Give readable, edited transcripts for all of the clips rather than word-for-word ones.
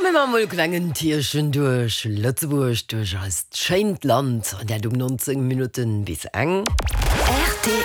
Da mir mol e klengen Tierchen duerch Lëtzebuerg, duerch eist schéint Land, an dat um 19 Minutten bis eng. Rtl.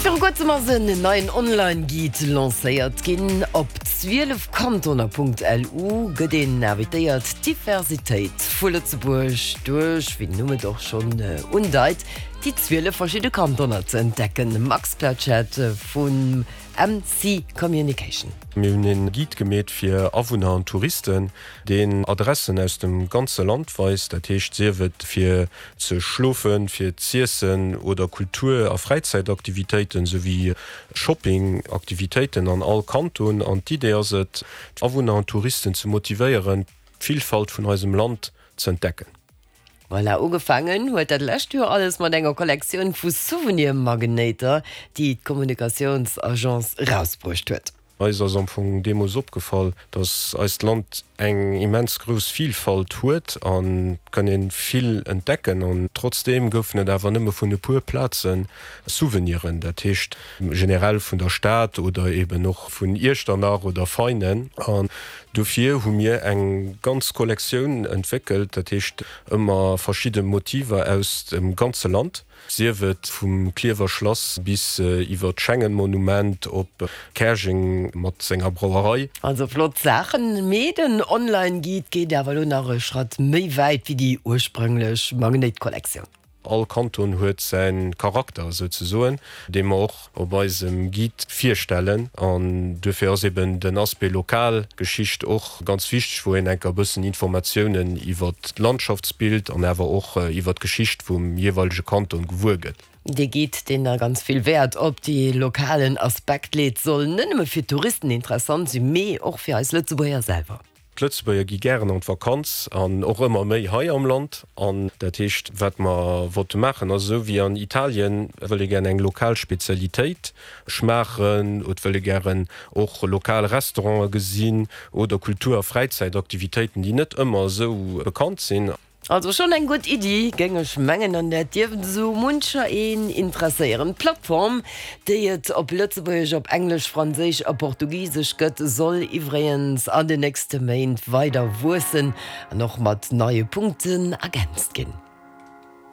Viru kuerzem ass en neien Online-Guide lancéiert ginn. Op 12 Kantoner.lu gëtt een invitéiert, d'Diversitéit vu Lëtzebuerg duerch, wéi den Numm et och schonn undeit, déi 12 verschidde Kantoner ze entdecken. Max Pletschette vum MC Communication. Mir hunn een Guide gemeet fir Awunner an Touristen, deen Adressen aus dem ganze Land weist, dat heescht sief et fir ze schlofen, fir z'iessen oder Kultur a Fräizäitaktivitéiten souwéi Shopping-Aktivitéiten an all Kanton. An d'Idee ass et, d'Awunner an Touristen ze motivéieren, d'Villfalt vun eisem Land z'entdecken. Voilà, ugefaangen huet dat lescht Joer alles mat enger Kollektioun vu Souvenir-Magnéiter, déi d'Kommunikatiounsagence erausbruecht huet. Eis ass am Fong deemools opgefall, dass eist Land eng immens grouss Vilfalt huet an et kann een vill entdecken an trotzdeem goufen et awer nëmme vun e puer Plazen Souveniren, dat heescht generell vun der Stad oder eben och vun Iechternach oder Veinen. An dofir hu mir eng ganz Kollektioun entwéckelt, dat heescht ëmmer verschidde Motiver aus dem ganze Land, sief et vum Klierwer Schlass bis iwwer d'Schengen-Monument op Käerjeng mat senger Brauerei. Also flott Saachen, mee den Online-Guide geet awer elo nach e Schratt méi wäit wéi déi ursprünglech Magnéit-Kollektioun. All Kanton huet säi Charakter souzesoen, dee mer och op eisem Guide virstellen. An duerfir ass eben den Aspect lokal Geschicht och ganz wichteg, wou een enker e bëssen Informatiounen iwwer d'Landschaftsbild an awer och iwwer d'Geschicht vum jeeweilege Kanton gewuer gëtt. Dee Guide, deen da ganz vill Wäert op dee lokalen Aspekt leet, soll net nëmme fir d'Touristen interessant sinn, mee och fir eis Lëtzebuerger selwer. D'Lëtzebuerger gi gären an d'Vakanz an och ëmmer méi hei am Land. An dat heescht, wat mer wollte maachen, ass esou wéi an Italien wëll ee gären eng lokal Spezialitéit schmaachen, et wëll ee gären och lokal Restaurante gesinn oder Kultur a Fräizäitaktivitéiten, déi net ëmmer esou bekannt sinn. Also schonn eng gutt Iddi, géing ech mengen, an dat dierft esou muncher een interesséieren. D'Plattform, déi et op Lëtzebuergesch, op Englesch, Franséisch a Portugisesch gëtt, soll iwwregens an den nächste Méint weider wuessen an och mat neie Punkten ergänzt ginn.